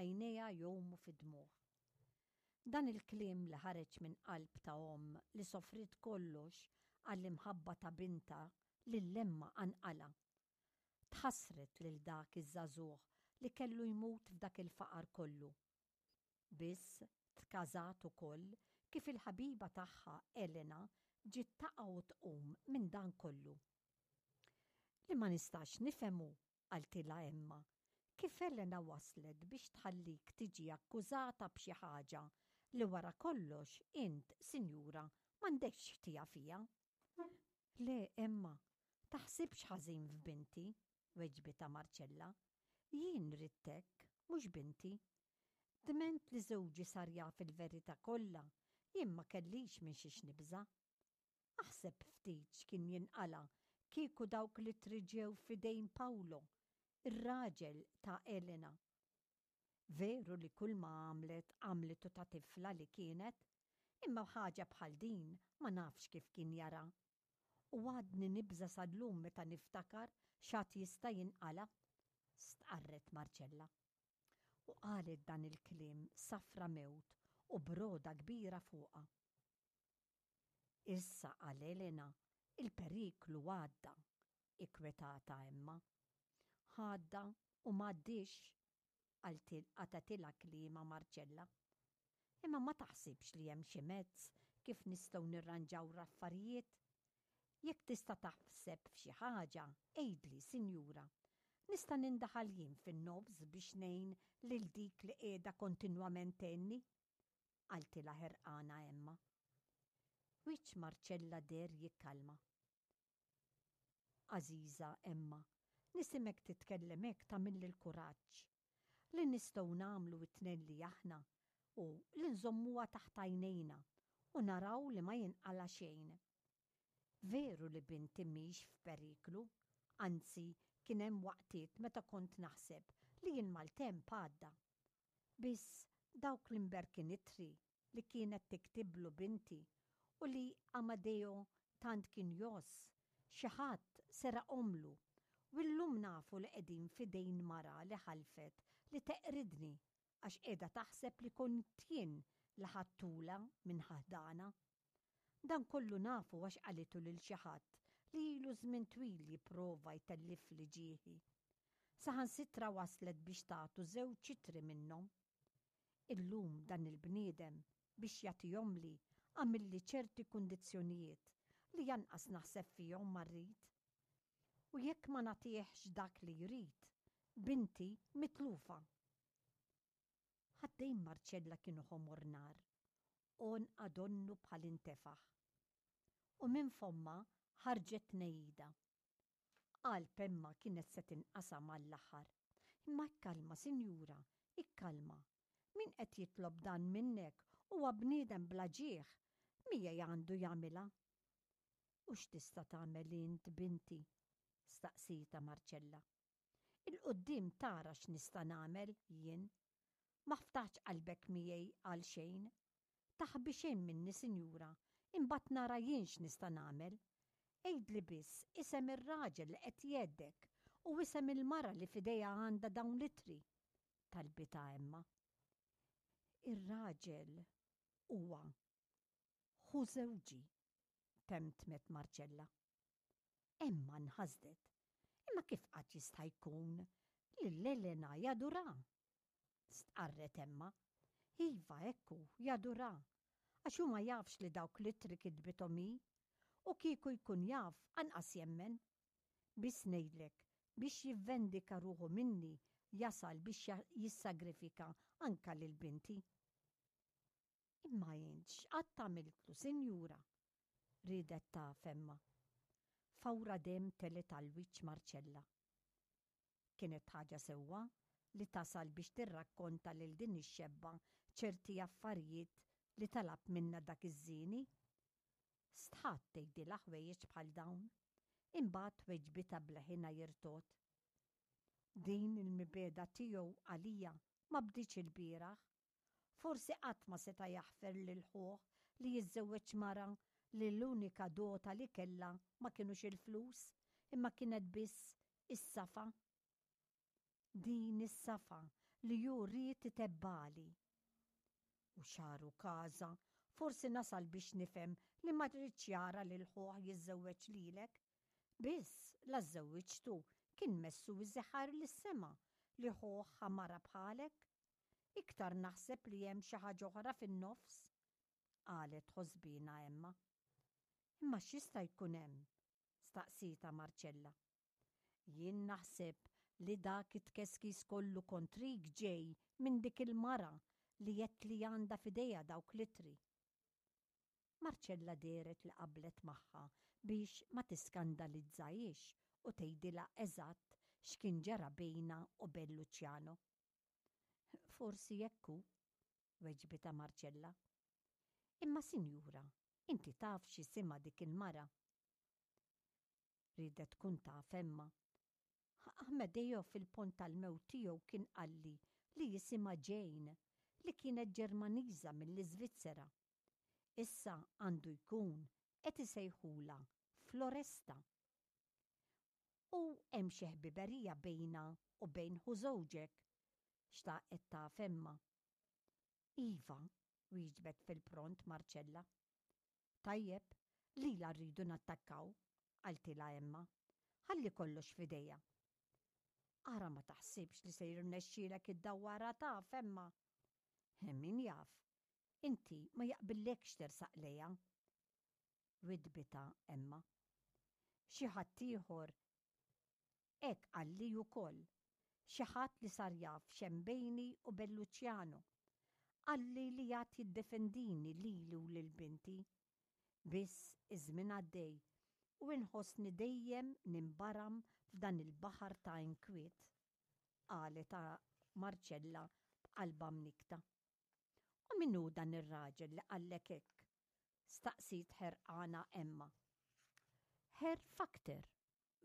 għajnejha jgħumu fid-dmugħ. Dan il-kliem li ħareġ minn qalb ta' omm li sofriet kollox għall-imħabba ta' bintha lil Emma qanqalha. Tħassret lil dak iż-żagħżugħ li kellu jmut f'dak il-faqar kollu. Biss tkażat ukoll kif il-ħabiba tagħha Elena ġiet taqa' u tqum minn dan kollu. Li ma nistax nifhem hu, qaltilha Emma, kif Elena waslet biex tħallik tiġi akkużata b'xi ħaġa li wara kollox int, sinjura, m'għandekx ħtija fiha. Le, Emma, taħsibx ħażin f'binti, weġbitha Marcella. Jien ridt hekk, mhux binti. Dment li żewġi sar jaf il-verità kollha, jien ma kellix minn xiex nibża'. Aħseb ftit x'kien jinqala' kieku dawk l-ittri ġew f'idejn Paolo, ir-raġel ta' Elena. Veru li kulma għamlet għamlitu ta' tifla li kienet, imma ħaġa bħal din ma nafx kif kien jara. U għadni nibża' sal-lum meta niftakar x'għad jista' jinqala', stqarret Marcella. U qalet dan il-kliem safra mewt u b'rogħda kbira fuqha. Issa għal Elena il-periklu għadda, ikkwetata Emma. Għadda u m'għaddiex, qatgħetilha kliemha Marcella. Imma ma taħsibx li hemm xi mezz kif nistgħu nirranġaw l-affarijiet? Jekk tista' taħseb f'xi ħaġa, għidli, sinjura. Nista' nindaħal jien fin-nofs biex ngħin lil dik li qiegħda kontinwament tgħinni? qaltilha ħerqana Emma. Wiċċ Marcella deher jikkalma. Għażiża Emma, nisimek titkellem hekk tagħmilli l-kuraġġ. Li nistgħu nagħmlu t-tnejn li aħna hu li nżommuha taħt għajnejna u naraw li ma jinqala' xejn. Veru li binti mhix f'periklu, anzi kien hemm waqtiet meta kont naħseb li l-maltemp għadda. Biss dawk l-imberkin ittri li kienet tiktiblu binti u li Amadeo tant kien jgħożż, xi ħadd seraqhomlu u llum nafu li qegħdin f'idejn mara li ħalfet li teqridni għax qiegħda taħseb li kont jien li ħadtulha minn ħdana. Dan kollu nafu għax qalitu lil xi ħadd li ilu żmien twil jipprova jtellifli ġieħi. Saħansitra waslet biex tagħtu żewġ ittri minnhom. Illum dan il-bniedem biex jagħtihomli għamilli ċerti kundizzjonijiet li anqas naħseb fihom ma rrid. U jekk ma nagħtihx dak li jrid, binti mitlufa. Ħaddejn Marcella kienu ħomor nar, għonqha donnu bħal intefaħ. U minn fommha ħarġet tnehida. Qalb Emma kienet se tinqasam għall-aħħar. Imma ikkalma, sinjura, ikkalma. Min qed jitlob dan minnek huwa bniedem bla ġieħ, miegħi għandu jagħmilha. U x'tista' tagħmel int, binti? staqsietha Marcella. 'Il quddiem tara x'nista' nagħmel jien. Ma ftaħtx qalbek miegħi għal xejn. Taħbi xejn minni, sinjura, imbagħad nara jien x'nista' nagħmel. Għidli biss isem ir-raġel li qed jgħeddek u isem il-mara li f'idejha għandha dawn l-ittri, talbitha Emma. Ir-raġel huwa ħu żewġi, temtmet Marcella. Emma nħasdet. Imma kif qatt jista' jkun lil Elena jadura? Stqarret Emma. Iva, hekk hu, jadura. Għax hu ma jafx li dawk l-ittri kitbithom hi. U kieku jkun jaf, anqas jemmen. Biss ngħidlek, biex jivvendika ruħu minni jasal biex jissagrifika anka lil binti. Imma int x'qatt għamiltlu, sinjura? riedet taf Emma. Fawra demm telgħet għal wiċċ Marcella. Kienet ħaġa sewwa li tasal biex tirrakkonta lil din ix-xebba ċerti affarijiet li talab minnha dak iż-żieni? Stħat tgħidilha ħwejjeġ bħal dawn. Imbagħad weġbitha b'leħinha jirtogħod. Din il-mibegħda tiegħu għalija ma bdietx ilbieraħ. Forsi qatt ma seta' jaħfer lil ħuh li jiżżewweġ mara li l-unika dota li kellha ma kinux il-flus imma kienet biss is-safa. Din is-safa li hu ried itebbagħli. U xagħru każa, forsi nasal biex nifhem li ma riedx jara lil ħuh jiżżewweġ lilek. Biss, la żżewwiġtu, kien messu jżeħħar lis-sema li ħuh ħa mara bħalek. Iktar naħseb li hemm xi ħaġa oħra fin-nofs, qalet ħosbiena Emma. Imma x'jista' jkun hemm? staqsietha Marcella. Jien naħseb li dak it-tkeskis kollu kontrik ġej minn dik il-mara li għedt li għandha f'idejha dawk l-ittri. Marcella dehret li qablet magħha biex ma tiskandalizzahiex u tgħidilha eżatt x'kien ġara bejnha u bejn Luciano. Forsi hekk hu, weġbitha Marcella. Imma sinjura, inti taf x'isimha dik il-mara? Riedet tkun taf Emma. Amedeo fil-pont tal-mewt tiegħu kien qalli li jisimha Jane, li kienet Ġermaniża mill-Iżvizzera. Issa għandu jkun qed isejħulha Floresta. U hemm xi ħbiberija bejnha u bejn ħu żewġek? xtaqet taf Emma. Iva, wieġbet fil-pront Marcella. Tajjeb, lilha rridu nattakkaw, qaltilha Emma. Ħalli kollox f'idejha. Ara ma taħsibx li se jirnexxielek iddawwarha taf, Emma. Min jaf, inti ma jaqbillekx tersaq lejha. Widdbitha Emma. Xi ħadd ieħor Hekk qalli wkoll. Xi ħadd li sar jaf x'hemm bejni u bejn Luciano. Qalli li għad jiddefendini lili u lil binti. Biss iż-żmien għaddej u inħossni dejjem ninbaram f'dan il-baħar ta' inkwiet, qalet Marcella b'qalbha mnikkta. U min hu dan ir-raġel li qallek hekk? staqsiet ħerqana Emma. Herr Fakter,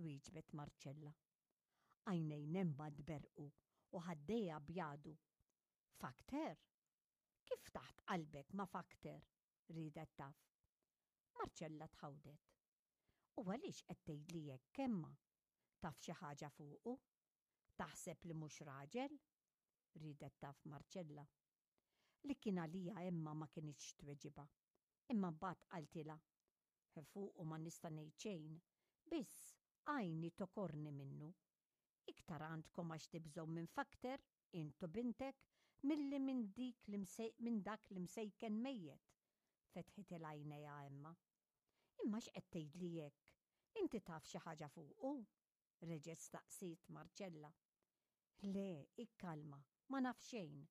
wieġbet Marcella. Għajnejn Emma tberrqu u ħaddejha bjadu. Fakter? Kif ftaħt qalbek ma' Fakter? riedet taf. Marcella tħawdet. U għaliex qed tgħidli hekk, Emma? Taf xi ħaġa fuqu? Taħseb li mhux raġel? riedet taf Marcella. Li kien għaliha Emma ma kinitx tweġibha. Imma mbagħad qaltilha, Fuqu ma nista' ngħid xejn, biss għajni tokorni minnu. Iktar għandkom għax tibżgħu minn Fakter, int u bintek, milli minn dik minn dak l-imsejken mejjet, fetħitilha għajnejha Emma. Imma x'qed tgħidli hekk? Inti taf xi ħaġa fuqu? reġgħet staqsiet Marcella. Le, ikkalma, ma naf xejn.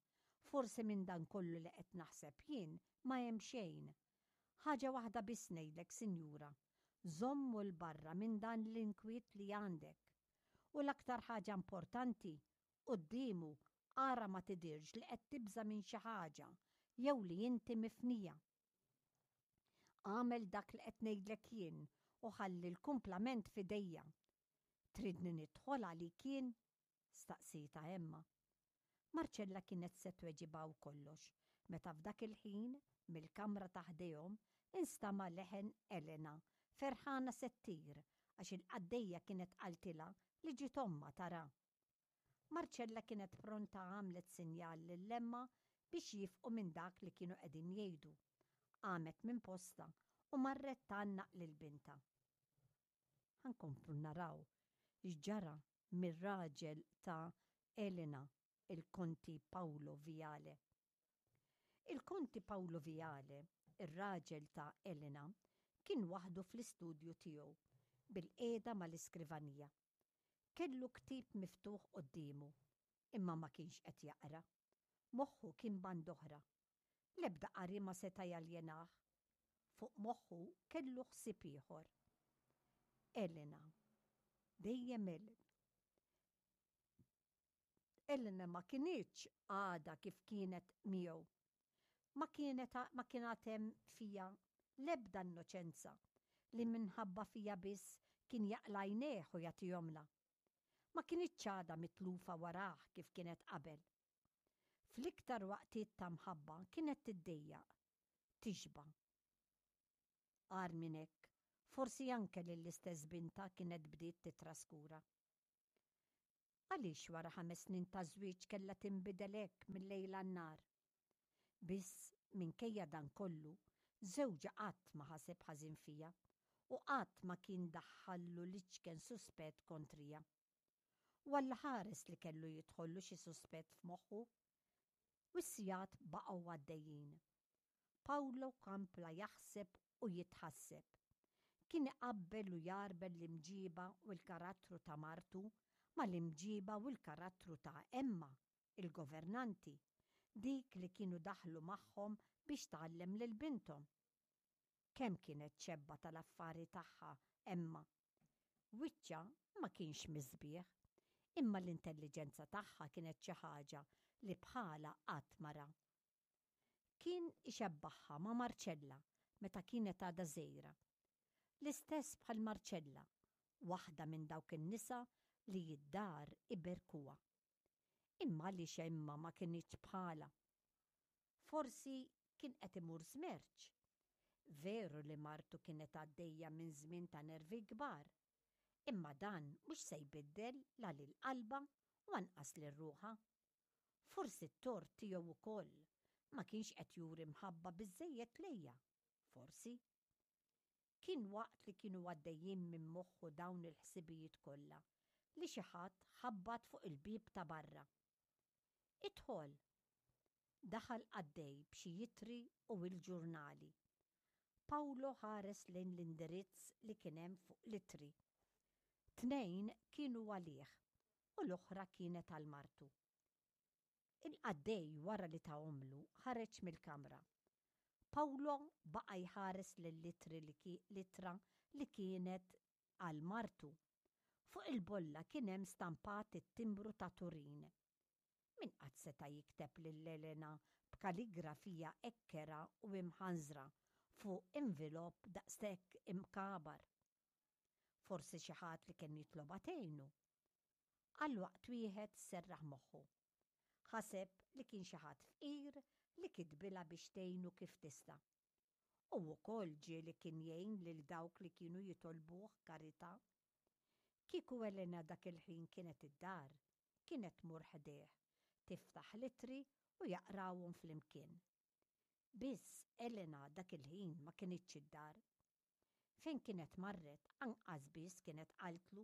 Forsi minn dan kollu li qed naħseb jien ma hemm xejn. Ħaġa waħda biss ngħidlek, sinjura, żommu 'l barra minn dan l-inkwiet li għandek. U l-aktar ħaġa importanti, quddiemu ara ma tidhirx li qed tibża' minn xi ħaġa jew li inti mifnija. Agħmel dak li qed ngħidlek jien u ħalli l-kumplament f'idejja. Tridni nidħol għalik jien? staqsietha Emma. Marcella kienet se tweġibha u kollox, meta f'dak il-ħin, mill-kamra ta' ħdejhom, instama' leħen Elena, ferħana se ttir għax il-qaddejja kienet qaltilha li ġiet ommha tara. Marcella kienet pronta għamlet sinjal lil Emma biex jiefqu minn dak li kienu qegħdin jgħidu. Qamet minn postha u marret tgħannaq lil bintha. Ħa nkomplu naraw x'ġara mir-raġel ta' Elena, il-Konti Paolo Viale. Il-Konti Paolo Viale, ir-raġel ta' Elena, kien waħdu fl-istudju tiegħu, bilqiegħda mal-iskrivanija. Kellu ktieb miftuħ quddiemu, imma ma kienx qed jaqra. Moħħu kien band'oħra. L-ebda qari ma seta' jaljenah. Fuq moħħu kellu ħsieb ieħor. Elena. Dejjem Elena. Elena ma kinitx għadha kif kienet miegħu. Ma kienet ma kien għad hemm fiha l-ebda innoċenza li minħabba fiha biss kien jaqla' għajnejh u jagħtihomlha. Ma kinitx għadha mitlufa warah kif kienet qabel. Fl-iktar waqtiet ta' mħabba kienet tiddejjaq, tixba'. Agħar minn hekk, forsi anke lill-istess bintha kienet bdiet tittraskura. Għaliex wara ħames snin ta' żwieġ kellha tinbidel hekk mil-lejl għan-nhar? Biss, minkejja dan kollu, żewġha qatt ma ħaseb ħażin fija u qatt ma kien daħħallu l-iċken suspett kontrija. U allaħares li kellu jidħollu xi suspett f'moħħu. U s-sigħat baqgħu għaddejjin. Paolo kampla jaħseb u jitħasseb. Kien iqabbel u jgħarbel l-imġiba u l-karattru ta' martu mal-imġiba u l-karattru ta' Emma, il-governanti, dik li kienu daħlu magħhom biex tgħallem lil binthom. Kemm kienet xebba tal-affari tagħha Emma! Wiċċha ma kienx mis-sbieħ, imma l-intelliġenza tagħha kienet xi ħaġa li bħalha qatt ma ra. Kien ixebbaħha ma' Marcella meta kienet għadha żgħira. L-istess bħal Marcella, waħda minn dawk in-nisa li d-dar iberkuha. Imma għaliex Emma ma kinitx bħalha? Forsi kien qed imur żmerċ. Veru li martu kienet għaddejja minn żmien ta' nervi kbar. Imma dan mhux se jbiddel la lil qalbha u anqas lil ruħha. Forsi t-tort tiegħu wkoll, ma kienx qed juri mħabba biżżejjed lejja. Forsi. Kien waqt li kienu għaddejjin minn moħħu dawn il-ħsibijiet kollha li xi ħadd ħabbat fuq il-bieb ta' barra. Idħol! Daħal qaddej b'xi ittri u il-ġurnali. Paolo ħares lejn l-indirizz li kien hemm fuq l-ittri. Tnejn kienu għalih u l-oħra kienet għal martu. Il-qaddej wara li tahomlu ħareġ mill-kamra. Paolo baqa' jħares lill-ittri li l-ittra li kienet għal martu. Fuq il-bolla kien hemm stampat it-timbru ta' Turin. Min qatt seta' jikteb lil Elena b'kaligrafija hekk kerha u imħanżra fuq invilopp daqshekk imkabar? Forsi xi ħadd li kien jitlobha tgħinu. Għal waqt wieħed serraħ moħħu. Ħaseb li kien xi ħadd fqir li kitbilha biex tgħinu kif tista'. Hu wkoll ġieli kien jgħin lil dawk li kienu jitolbuh karità. Kieku Elena dak il-ħin kienet id-dar, kienet tmur ħdejh, tiftaħ l-ittri u jaqrawhom flimkien. Biss Elena dak il-ħin ma kinitx id-dar. Fejn kienet marret anqas biss kienet qaltlu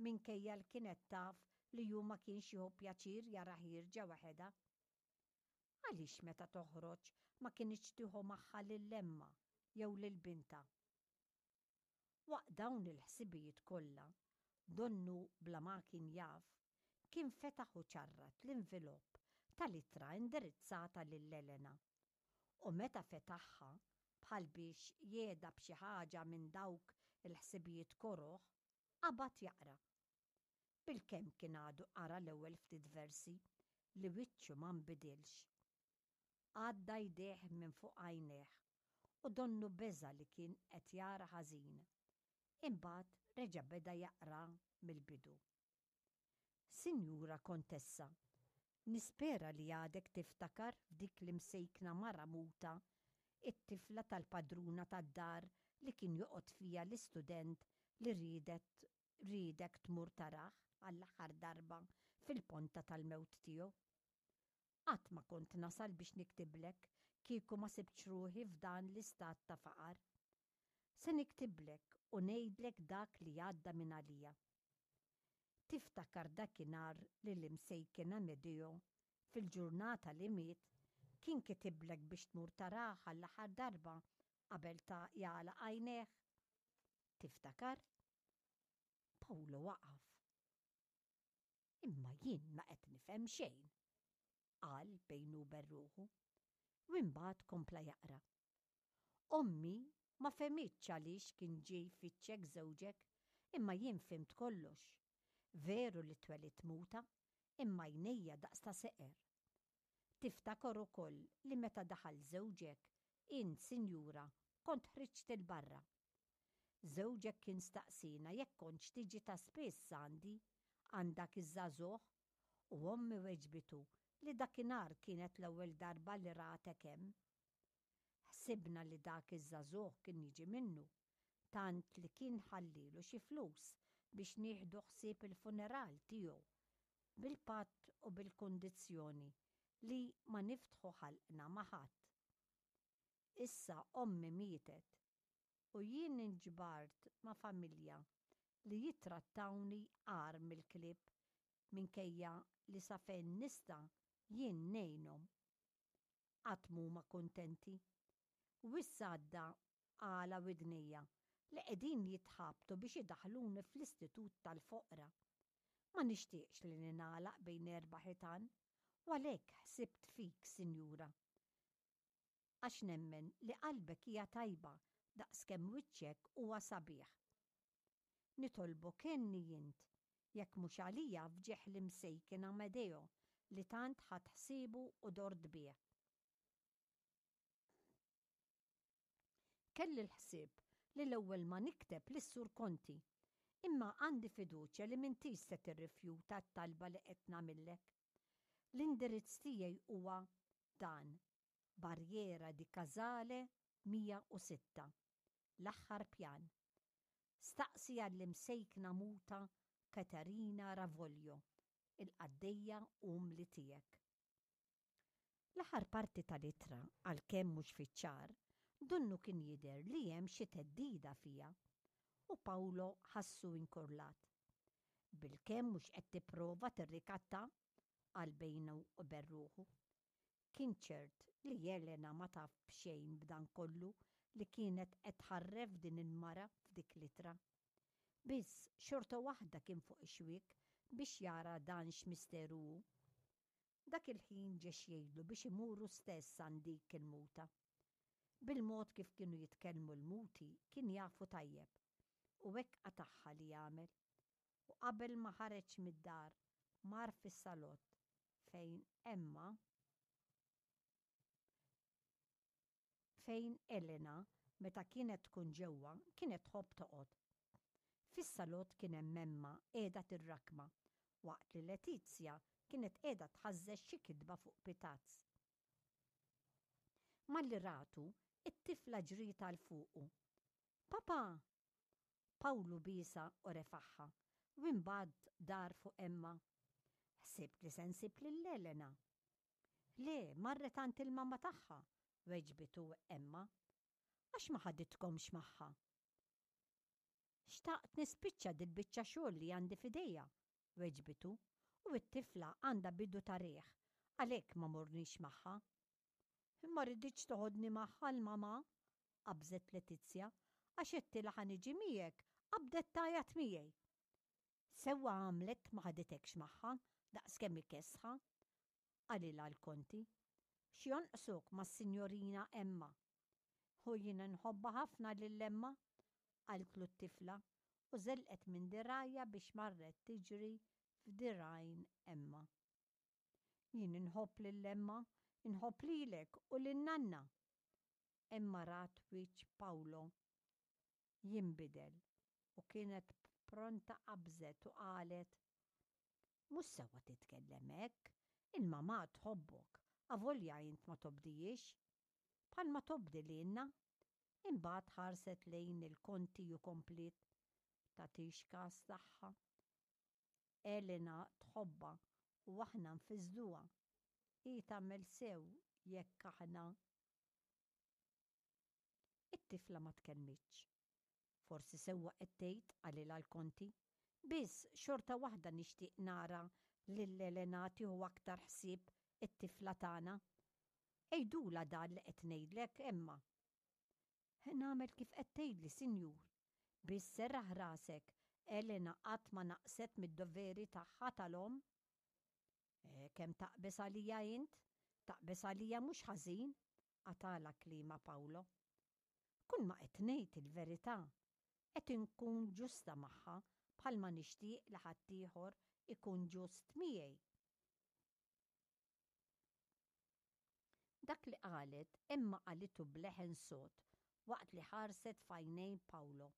minkejja li kienet taf li hu ma kienx jieħu pjaċir jara ħierġa waħedha. Għaliex meta toħroġ ma kinitx tieħu magħha lil Emma jew lil bintha? Waqt dawn il-ħsibijiet kollha, donnu bla ma kien jaf, kien fetaħ u ċarrat l-invilopp tal-ittra indirizzata lil Elena. U meta fetaħha, bħal biex jehda b'xi ħaġa minn dawk il-ħsibijiet koroh, qabad jaqra. Bilkemm kien għadu qara l-ewwel ftit versi li wiċċu ma nbidilx. Għadda jdejh minn fuq għajnejh u donnu beża' li kien qed jara ħażin. Imbagħad reġa' beda jaqra mill-bidu. Sinjura Kontessa, nispera li għadek tiftakar f'dik l-imsejkna mara muta, it-tifla tal-padruna tad-dar li kien joqgħod fiha l-istudent li riedet riedek tmur tarah għall-aħħar darba fil-ponta tal-mewt tiegħu. Qatt ma kont nasal biex niktiblek kieku ma sibtx ruħi f'dan l-istat ta' faqar. Se niktiblek u ngħidlek dak li għadda minn għalija. Tiftakar dakinhar li l-imsejken Amedeo, fil-ġurnata li miet, kien kitiblek biex tmur tarah għall-aħħar darba qabel ta' jagħlaq għajnejh? Tiftakar? Paolo waqaf. Imma jien ma qed nifhem xejn, qal bejnu u ben ruħu, u imbagħad kompla jaqra. Ommi ma fehmitx għaliex kien ġie jfittxek żewġek, imma jien fhimt kollox. Veru li twelidt muta, imma għajnejja daqs ta' seqer. Tiftakar ukoll li meta daħal żewġek, int, sinjura, kont ħriġt 'il barra. Żewġek kien staqsiena jekk kontx tiġi ta' spiss għandi, għand dak iż-żagħżugħ, u ommi weġbitu li dakinhar kienet l-ewwel darba li ratek hemm. Ħsibna li dak iż-żagħżugħ kien jiġi minnu, tant li kien ħallielu xi flus biex nieħdu ħsieb il-funeral tiegħu. Bil-patt u bil-kundizzjoni li ma niftħu ħalqna ma' ħadd. Issa ommi mietet u jien inġbart ma' familja li jittrattawni agħar mill-klieb minkejja li sa fejn nista' jien ngħinhom. Qatt m'huma kuntenti. U issa għadda għala widnejja li qegħdin jitħabtu biex idaħħluni fl-istitut tal-foqra. Ma nixtieqx li ningħalaq bejn erba' ħitan u għalhekk ħsibt fik, sinjura. Għax nemmen li qalbek hija tajba daqskemm wiċċek huwa sabiħ. Nitolbok għenni int, jekk mhux għalija f'ġieħ l-imsejken Amedeo li tant ħadt ħsiebu u dort bih. Kelli l-ħsieb li l-ewwel ma nikteb lis-Sur Conti, imma għandi fiduċja li m'intix se tirrifjuta t-talba li qed nagħmillek. L-indirizz tiegħi huwa dan, Barriera di Casale 106, l-aħħar pjan. Staqsi għall-imsejkna muta Caterina Ravoglio, il-qaddejja umli tiegħek. L-aħħar parti tal-ittra, għalkemm mhux fiċ-ċar, donnu kien jidher li hemm xi theddida fiha, u Paolo ħassu inkurlat. Bilkemm mhux qed tipprova tirrikatta, qal bejnu u ben ruħu. Kien ċert li Elena ma taf b'xejn b'dan kollu li kienet qed tħarref din il-mara f'dik l-ittra. Biss xorta waħda kien fuq ix-xwiek biex jara dan x'misteru hu. Dak il-ħin ġie x'jgħidlu biex imur hu stess għand dik il-muta. Bil-mod kif kienu jitkellmu l-muti kien jafu tajjeb, u hekk qatagħha li jagħmel. U qabel ma ħareġ mid-dar mar fis-salott fejn Emma fejn Elena meta kienet tkun ġewwa kienet tħobb toqgħod. Fis-salott kien hemm Emma qiegħda tirrakkma waqt li Letizia kienet qiegħda tħażżeż xi kitba fuq pitazz. Malli ratu, it-tifla ġriet għal fuqu. Papà! Pawlu biesha u refagħha, u imbagħad dar fuq Emma. Ħsibt li se nsib lil Elena. Le, marret għand il-mamma tagħha, weġbitu Emma. Għax ma ħaditkomx magħha? Xtaqt nispiċċa dil-biċċa xogħol li għandi f'idejja, weġbitu, u t-tifla għandha bidu ta' riħ, għalhekk ma morniex magħha. Ma riditx toħodni magħha l-mamà, qabżet Letizia, għax għedtilha ħa niġi miegħek, qabdet tgħajjat miegħi. Sewwa għamlet ma ħaditekx magħha, daqskemm hi kesħa, qalilha l-Konti. X'jonqsok mas-Sinjorina Emma? U jiena nħobbha ħafna lil Emma, qaltlu t-tifla u żelqet minn dirgħajha biex marret tiġri f'dirgħajn Emma. Jien inħobb lil Emma, inħobb lilek u lin-nanna. Emma rat wiċċ Paolo jinbidel u kienet pronta qabżet u qalet, Mhux sewwa titkellem hekk, il-mamà tħobbok, avolja int ma tobdihiex. Bħalma tobdi lilna. Imbagħad ħarset lejn il-konti u kompliet, Tagħtix kas tagħha. Elena tħobbha u aħna nfissduha. Hi tagħmel sew jekk aħna. It-tifla ma tkellmitx. Forsi sewwa qed tgħid, qalilha l-Konti. Biss xorta waħda nixtieq nara lil Elena tieħu aktar ħsieb it-tifla tagħna. Għidulha dan li qed ngħidlek, Emma. Nagħmel kif qed tgħidli, sinjur. Biss serraħ rasek, Elena qatt ma naqset mid-doveri tagħha tal-omm. Eh, kemm taqbeż għalija int? Taqbeż għalija mhux ħażin, qatagħlha kliemha Paolo. Kulma qed ngħid il-verità. Qed inkun ġusta magħha bħalma nixtieq li ħaddieħor ikun ġust miegħi. Dak li qalet Emma qalitu b'leħen sod waqt li ħarset f'għajnejn Paolo.